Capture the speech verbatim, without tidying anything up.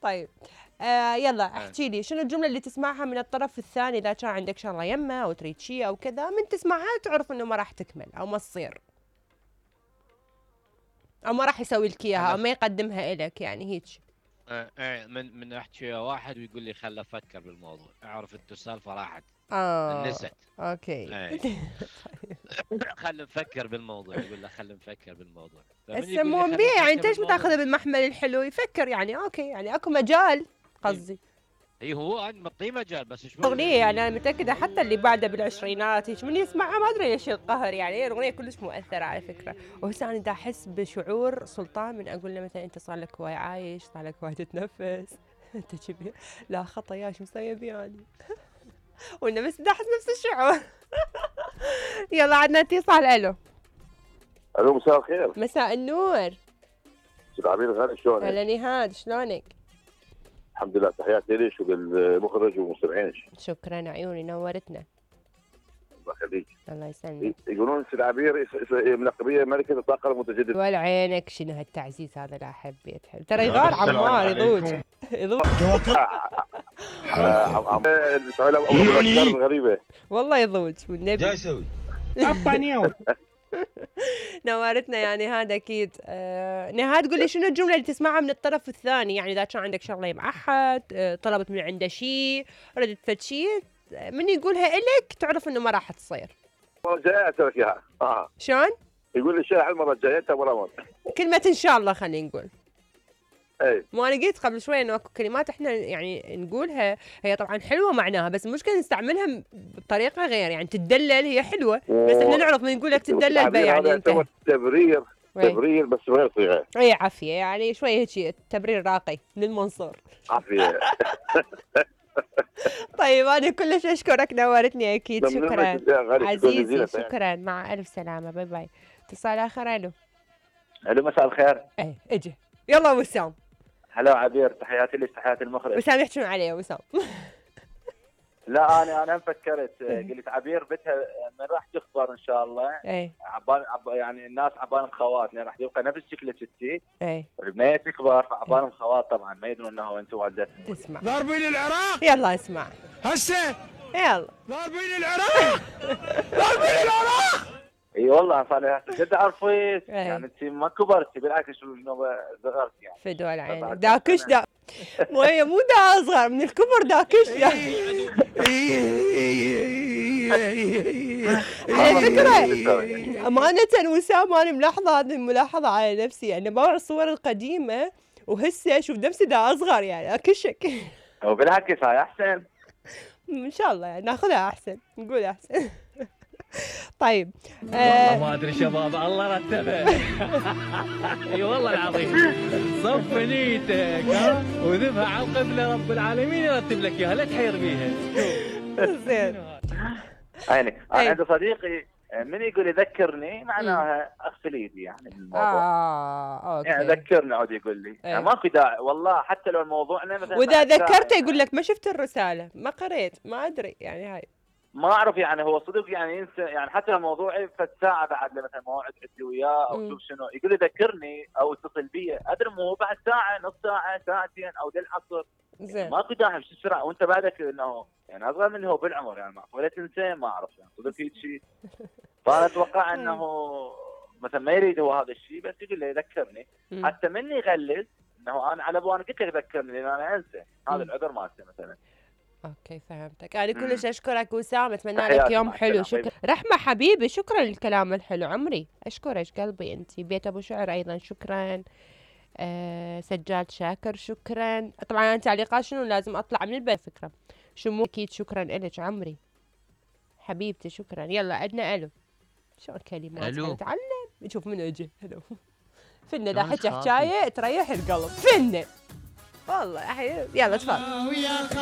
طيب آه يلا احكي لي شنو الجملة اللي تسمعها من الطرف الثاني إذا كان عندك شغلة يمه أو تريد شيء أو كذا، من تسمعها تعرف إنه ما راح تكمل أو ما تصير أو ما راح يسوي لك إياها أو ما يقدمها إلك، يعني هيك. ايه من من احكي ويا واحد ويقول لي خل افكر بالموضوع، اعرف انت السالفه راحت اه نست. اوكي. ايه خل نفكر بالموضوع، يقول له خل نفكر بالموضوع. هسه مو بيه يعني انت ليش ما تاخذها بالمحمل الحلو؟ يفكر يعني اوكي، يعني اكو مجال قصدي. اي هو معطيه مجال بس شوي. اغنيه يعني انا متاكده حتى اللي بعده بالعشرينات هيك من يسمعها ما ادري ليش القهر، يعني الاغنيه كلش مؤثره على فكره. وهسه انا دا احس بشعور سلطان من اقول له مثلا انت صار لك هواي عايش، صار لك هواي تتنفس انت كبير، لا خطا يا شو مسوي بياني وانا بس دا احس نفس الشعور. يلا عندنا اتصال. الو الو مساء الخير. مساء النور. استاذ عبير غالي شلونك؟ هلا نهاد شلونك؟ الحمد لله، تحياتي ليش وبالمخرج ومستمعينك. شكرا عيوني نورتنا. الله يخليك. الله يسلمك. يقولون استاذ عبير ملقبيه ملكه الطاقه المتجدده. ولا عينك شنو هالتعزيز هذا، لا احب يتحب ترى يغار عمار يضوج يضوج غريبه والله يضوج والنبي. جاي يسوي عبانيو. نورتنا يعني هذا اكيد. آه نهاد قولي شنو الجمله اللي تسمعها من الطرف الثاني، يعني اذا كان عندك شغله مع احد، آه طلبت من عنده شيء، ردت فد شيء، من يقولها الك تعرف انه ما راح تصير. المره الجايه اترك اياها. اه شلون؟ يقول لي الشارع المره الجايه انت ورا كلمه ان شاء الله خلينا نقول. اي ما انا قلت قبل شوي انه اكو كلمات احنا يعني نقولها هي طبعا حلوه معناها، بس المشكله نستعملها بطريقه غير، يعني تدلل هي حلوه بس احنا نعرف من نقول لك تدلل بها يعني انت تبرير تبرير بس غير صيغه. اي عافيه يعني شوي هيك تبرير راقي للمنصور. عافيه. طيب انا كلش اشكرك نورتني اكيد. شكرا عزيزي شكرا مع الف سلامه باي باي. اتصال اخر. الو الو مساء الخير. ايه اجي يلا وسام. هلا عبير تحياتي لك تحياتي المخرج. وسام يحكون علي يا وسام. لا انا انا فكرت قلت عبير بتها من راح تخبر ان شاء الله. ايه عبان عب يعني الناس عبالهم خواتنا راح يبقى نفس شكل ستي. ايه ما تكبر فعبالهم خوات طبعا ما يدرون انه انتم والدتهم. اسمع ضاربين العراق. يلا اسمع هسه يلا ضاربين العراق. ضاربين العراق. اي والله صار لي جد عرفت يعني انت ما كبرتي بالعكس شنو صغرتي يعني. فدوا العين داكش دا مو هي مو دا اصغر من الكبر داكش دا. على فكره امانه وسام انا ملاحظه هذه الملاحظه على نفسي، يعني بوع الصور القديمه وهسه اشوف نفسي دا اصغر يعني اكشك. وبالعكس هاي احسن ان شاء الله يعني ناخذها احسن نقول احسن. طيب والله ما ادري شباب الله رتبه. اي والله العظيم صف نيتك ها وذبها على القبله رب العالمين يرتب لك اياها لا تحير بيها. زين عيني انا عندي صديقي من يقول يذكرني معناها اغسل ايدي يعني الموضوع. اه اوكي يعني ذكرني عود يقول لي يعني ماكو داعي والله حتى لو الموضوعنا مثلا واذا ذكرته يقول لك ما شفت الرساله ما قريت ما ادري يعني هاي ما اعرف يعني هو صدق يعني ينسى يعني حتى لو موضوعي فد ساعه بعد مثلا موعد عندي وياه او شوف شنو يقول لي ذكرني او اتصل بي ادري مو بعد ساعه نص ساعه ساعتين او للعصر. زين ماكو داعي بس بسرعه وانت بعدك انه يعني اصغر مني هو بالعمر يعني ولا تنسى ما اعرف يعني صدق هيك شيء. فانا اتوقع انه مثلا ما يريد هو هذا الشيء بس يقول لي يذكرني حتى مني يغلس انه انا على ابو انا قلت لك ذكرني لان انا انسى هذا العذر مالته مثلا. اوكي فهمتك. انا كلش اشكرك وسام اتمنى لك يوم حلو. شكرا رحمه حبيبي شكرا للكلام الحلو عمري اشكرك قلبي انت. بيت ابو شعر ايضا شكرا. أه سجاد شاكر شكرا. طبعا انا تعليقات شنو لازم اطلع من البيت فكره شو اكيد شكرا لك عمري حبيبتي شكرا. يلا عندنا الو شو الكلمات نتعلم نشوف من اجي. الو فنه دا حكي حكايه تريح القلب فنه والله. يلا تفضل.